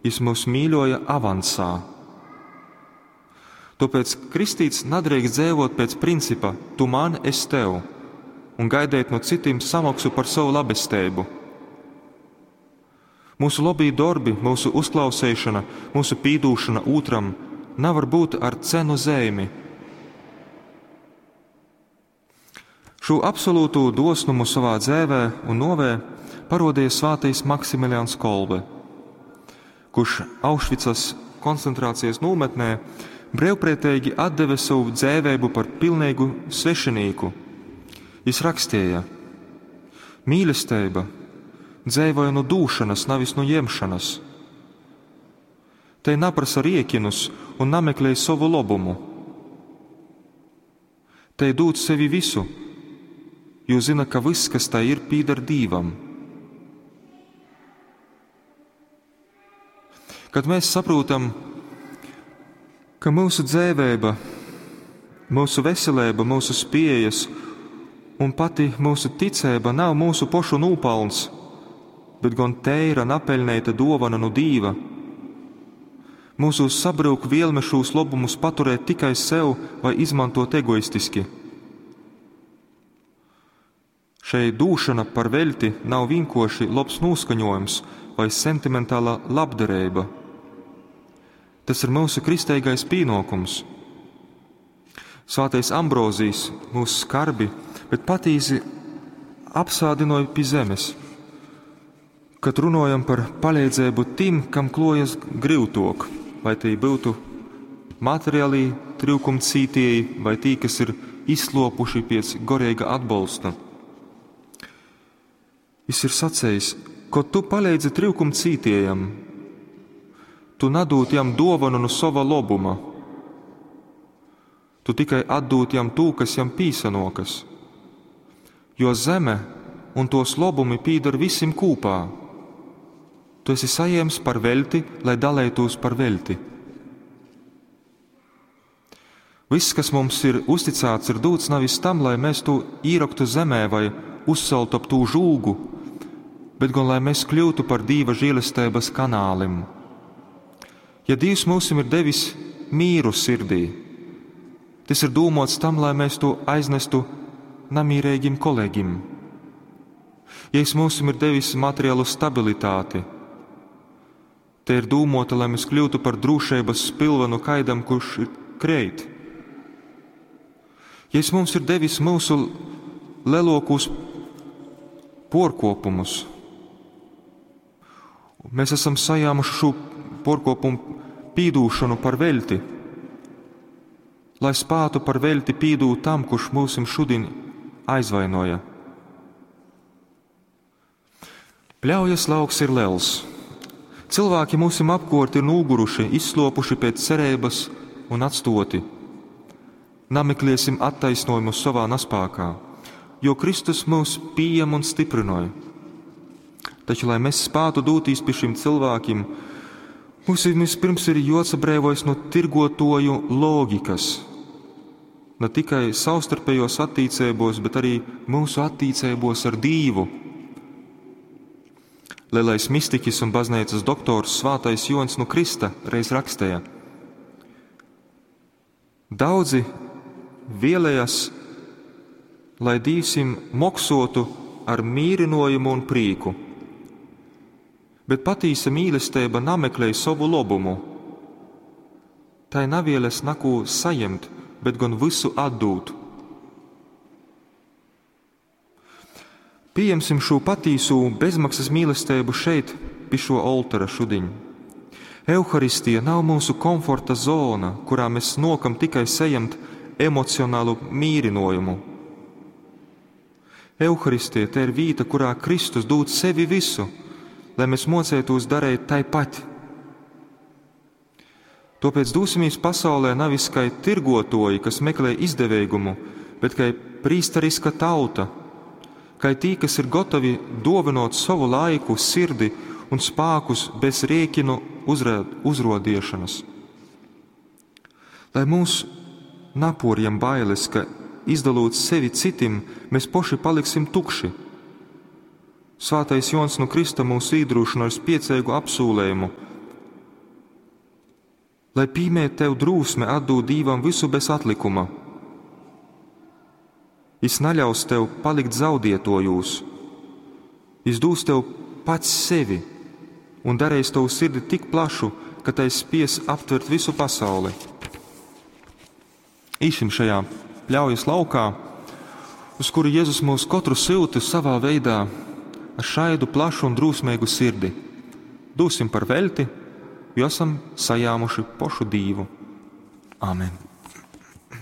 Jis myus mīļoja avansā. Tōpēc kristīts nadreikst dzeivot pēc principa tu man, es tev un gaideit nu cytim samoksu par sovu labesteibu. Mūsu lobī dorbi, myusu uzklauseišona, myusu pīdūšona ūtram navar būt ar cenu zeimi. Šū absolūtū dosnumu sovā dzēvē un novē parodīja svātais Maksimilians Kolbe, kurš Aušvicas koncentrācijas nometnē brīvprātīgi atdeva savu dzēvēbu par pilnīgu svešinīku. Jis rakstīja: Mīlestība dzēvoja no dūšanas, nevis no ņemšanas. Te naprasa riekinus un nameklē savu lobumu. Te dūt sevi visu, jo zina, ka viss, kas tai ir, pīdar Dīvam. Kad mēs saprotam, ka mūsu dzēvēba, mūsu veselība, mūsu spējas un pati mūsu ticība nav mūsu pošu nūpalns, bet gan teira napeļneita dovana no Dīva. Mūsu sabrūk vielme šos lobumus paturēt tikai sev vai izmantot egoistiski. Šeit dūšana par veļti nav vienkārši labs noskaņojums vai sentimentāla labdarība. Tas ir mūsu kristīgais pienākums. Svētais Ambrozijs mūs skarbi, bet patīsi apsādināja pie zemes. Kad runājam par palīdzību tim, kam klojas grūtāk, vai tie būtu materiālī trūkumcītieji, vai tī, kas ir izslopuši pēc gorīga atbalsta. Jis ir sacējis, ko tu palīdzi trūkumcītiejam, tu nadūt jam dovanu no sava lobuma. Tu tikai atdūt jam tū, kas jam pīsanokas. Jo zeme un tos lobumi pīdar visim kūpā. Tu esi sajēms par velti, lai dalētos par velti. Viss, kas mums ir uzticēts, ir dūts nevis tam, lai mēs to īraktu zemē vai uzceltu ap tū žūgu, bet gan lai mēs kļūtu par Dīva žēlestības kanālim. Ja Dievs mums ir devis mīru sirdī, tas ir dūmots tam, lai mēs to aiznestu namīrīgim kolēģim. Ja es mums ir devis materiālu stabilitāti, te ir dūmota, lai mēs kļūtu par drošības spilvenu kaidam, kurš ir kreit. Ja es mums ir devis mūsu lielākos porkopumus, mēs esam sajāmuši šo porkopumu pīdūšanu par velti, lai spātu par velti pīdūt tam, kurš mūsim šodien aizvainoja. Pļaujas lauks ir liels. Cilvēki mūsim apkort ir noguruši, izslopuši pēc cerības un atstoti. Namekliesim attaisnojumu savā naspākā, jo Kristus mūs pieņem un stiprinoja. Taču, lai mēs spātu dūtīs pie šiem cilvēkiem, mums vispirms ir jāatbrīvojas no tirgotoju loģikas. Ne tikai savstarpējos attiecībos, bet arī mūsu attiecībos ar Dievu. Lielais mistiķis un baznīcas doktors Svētais Jons no Krista reiz rakstīja: Daudzi vēlējas, lai Dievs viņiem moksotu ar mīrinojumu un prīku, bet patīsa mīlestība nameklēja savu lobumu. Tai navieles neko saņemt, bet gan visu atdūt. Pieņemsim šo patīso bezmaksas mīlestību šeit, pie šo oltora šudiņ. Euharistija nav mūsu komforta zona, kurā mēs nokam tikai saņemt emocionālu mīrinojumu. Euharistija te ir vīta, kurā Kristus dod sevi visu, lai mēs mocētos darīt taipat. Tāpēc dosimies pasaulē nevis kā tirgotoji, kas meklē izdevēgumu, bet kā prīstariska tauta, kā tī, kas ir gatavi dovinot savu laiku, sirdi un spākus bez rēķinu uzrodiešanas. Lai mūs naporjam bailes, ka izdalot sevi citim, mēs poši paliksim tukši. Svētais Jons no Krista mūs iedrošina ar spiecīgu apsūlējumu: Lai pīmeit tev drūsme atdūt Dīvam vysu bez atlikuma. Jys naļaus tev palikt zaudietojūs. Jys dūs tev pats sevi un dareis tovu sirdi tik plašu, ka tai spies aptvert vysu pasauli. Īsim šajā pļaujas laukā, uz kuru Jezus mūs kotru syuta savā veidā ar šaidu plašu un drūsmeigu sirdi. Dūsim par veļti, jo esam sajāmuši pošu Dīvu. Amen.